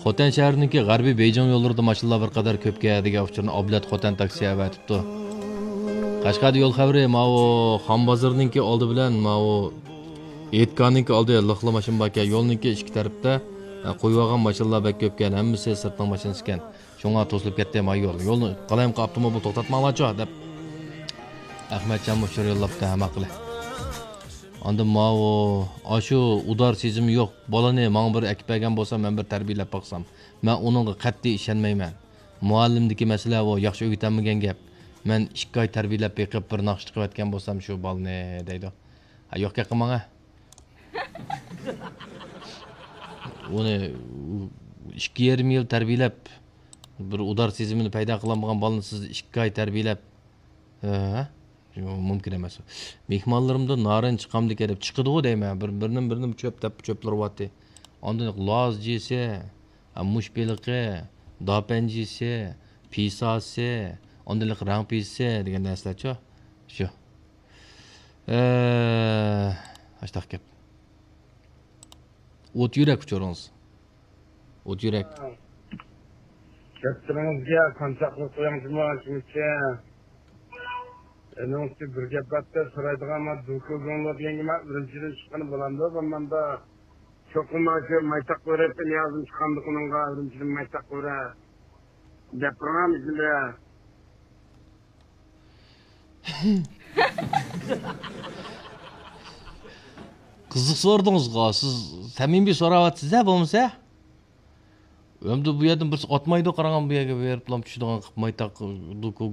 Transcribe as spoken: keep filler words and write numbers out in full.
خوتەن شەھىرىنىڭكى غەربىي بېيجىڭ يوللىرىدا ماشىنىلار بىر قەدەر كۆپكەن دېگەن ئۇچۇرنى ئابلەت خوتەن تاكسى ئەۋەتىپتۇ. قەشقەردە يول خەۋىرى ماۋۇ خان بازىرىنىڭكى ئالدى بىلەن ماۋۇ ھېيتگاھنىڭكى ئالدى لىقلا ماشىنا باركەن، يولنىڭكى ئىككى تەرىپىدە، ھە، قويۇۋالغان ماشىنىلار بەك كۆپكەن، ھەممىسى سىرتنىڭ ماشىنىسىكەن. شۇڭا توسۇلۇپ كەتتى ما يول. يولنى قالايمىقان ئاپتوموبىل توختاتماڭلارچۇ دەپ ئەخمەتجانمۇ ئۇچۇر يوللاپتۇ ھەممە قىلى. ئاندىن ماۋۇ، ئاشۇ ئۇدار سېزىمى يوق بالىنى ماڭا بىر ئەكىپ بەرگەن بولسا، مەن بىر تەربىيەلەپ باقسام. مەن ئۇنىڭغا قەتئىي ئىشەنمەيمەن. مۇئەللىمدىكى مەسىلە ئۇ، ياخشى ئۆگىتەلمىگەن گەپ. مەن ئىككى ئاي تەربىيەلەپ بېقىپ، بىر ناخشا چىقىۋەتكەن بولسام شۇ بالىنى دەيدۇ. ھە، يوق گەپ قىلماڭ ھە. ئۇنى ئىككى يېرىم يىل تەربىيەلەپ، بىر ئۇدار سېزىمىنى پەيدا قىلالمىغان بالىنى سىز ئىككى ئاي تەربىيەلەپ، ھە؟ يوق، مۇمكىن ئەمەس. مېھمانلىرىمدىن نارىن چىقامدىكەن دەپ چىقىدىغۇ دەيمەن. بىر، بىرنىمۇ، بىرنىمۇ چۆپ دەپ چۆپلىۋاتتى. ئاندىن لاز جىسى، مۇش بېلىقى، داپەن جىسى، پىساسى، ئاندىن رەڭ پىسىسى دېگەن نەرسىلەرچۇ. شۇ. ئە، ئاشتاق گەپ. ئوت يۈرەك ئۇچۇرىڭىز. ئوت يۈرەك. دەپتىرىڭىزگە قانچاقلا قويۇڭ جۇمۇ شۇنچە. ئەنىڭ ئۈستى بىر گەپ بارتى، سورايدىغان ما دۇكۇزۇڭلار دېگەنگە ما ئۈرۈمچىدىن چىققىنى بولامدۇ بولمامدۇ؟ چوقۇم ما شۇ مايتاق بېرىپ نىيازدىن چىقامدۇ ئۇنىڭغا ئۈرۈمچىدىن مايتاق بېرە دەپ تۇرغان ئىچىدە. قىزىق سورىدىڭىزغۇ، سىز سەمىمىي سوراۋاتىسىز-ھە بولمىسا. ئەمدى بۇ يەردىن بىرسى ئاتمايدۇ، قاراڭ بۇ يەرگە بېرىپلا چۈشىدىغان قىلىپ مايتاق، دۇكۇ،